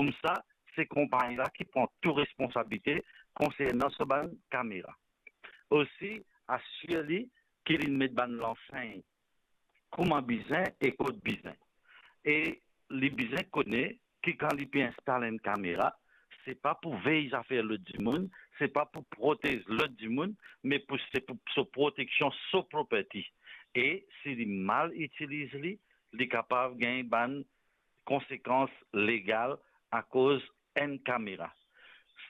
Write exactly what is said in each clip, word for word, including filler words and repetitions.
Koumsa, se konpagni la ki pran tou responsabilite konsernan so bann kamera. Osi, asir li ki li met bann lansegn kouma bizin e kot bizin. E li bizin kone ki kan li pe instal enn kamera, se pa pou vey zafer lot dimoun, se pa pou protez lot dimoun, me pou, se pou so proteksion, so property. E si li mal itiliz li, li kapav gagn bann konsekans legal akoz enn kamera.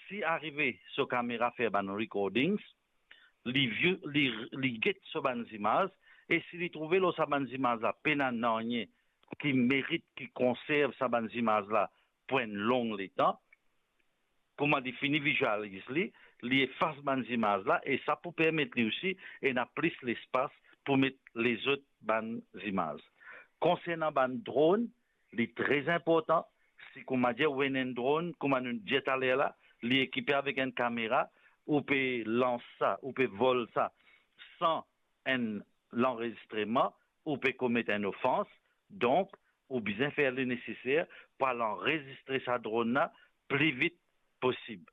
Si arive so kamera fer bann recordings, li view, li, li get so bann zimaz, e si li trouve lor sa bann zimaz la pena nanye ki merit ki konserv sa bann zimaz la pou enn long letan, kouma li fini vizualiz li, li efas bann zimaz la, e sa pou permet li osi ena plis lespas pou met lezot bann zimaz. Konsernan bann dron, li tre inportan. Si kouma dir ou ena enn dron, kouma nou dir taler la, li ekipe avek enn kamera, ou pe lans sa, ou pe vol sa san enn lanrezistreman, ou pe komet enn ofans. Donk, ou bizin fer le neseser pou al anrezistre sa dron la pli vit posib.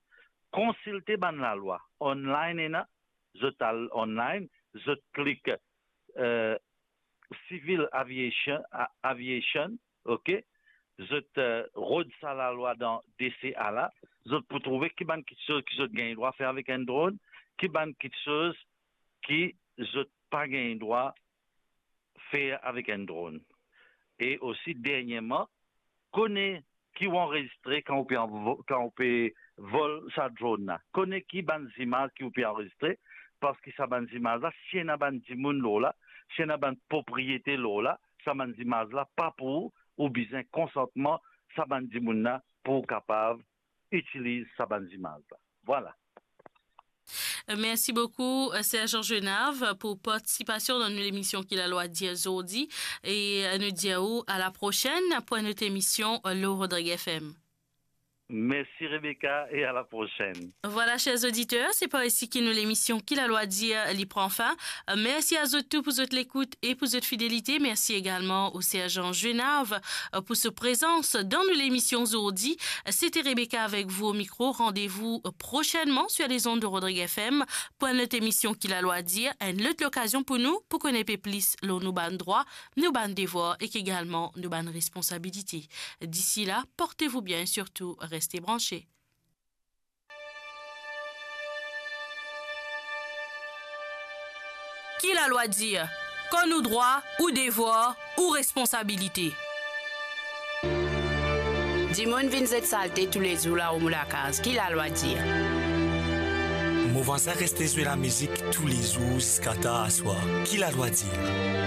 Konsilte bann lalwa. Online ena, zot al online, zot klik, eh, civil aviation, a-, aviation, ok? Zot, eh, rod sa lalwa dan D C A la, zot pou trouve ki bann kiksoz ki zot gagn drwa fer avek enn dron, ki bann kiksoz ki zot pa gagn drwa fer avek enn dron. E osi, derniereman, kone ki ou anrezistre kan ou pe anvo-, kan ou pe vol sa dron la. Kone ki bann zimaz ki ou pe anrezistre, parski sa bann zimaz la, si ena bann dimoun lor la, si ena bann propriete lor la, sa bann zimaz la pa pou ou, ou bizin konsantman sa bann dimoun la pou ou kapav itiliz sa bann zimaz la. Vwala. Mersi boukou, eh, Sergent Genav, pou partisipasion dan nou lemision Ki Lalwa Dir zordi, e, eh, nou dir ou a la prosenn pou enn lot emision, eh, lor Rodrig F M. Mersi Rebecca e a la prosenn. Vwala, ser oditer, se par isi ki nou lemision Ki Lalwa Dir, eh, li pran fin. Eh, mersi a zot tou pou zot lekout e pou zot fidelite. Mersi egalman o Sergent Genav, eh, pou so prezans dan nou lemision zordi. C'était Rebecca avec vous au micro. Rendez-vous prochainement sur les ondes de Rodrig F M pour une autre émission Ki Lalwa Dir, enn lot lokazion pou nou, pou kone pe plis lor nou bann drwa, nou bann devwar ek egalman nou bann responsabilite. D'ici là, portez-vous bien et surtout, restez branchés. Ki Lalwa Dir? Kan nou drwa, ou devwar, ou responsabilite. Dimoun vinn zet salte toulezour laor mo lakaz, Ki Lalwa Dir? Mo vwazin reste zwe lamizik toulezour ziska tar aswar, Ki Lalwa Dir?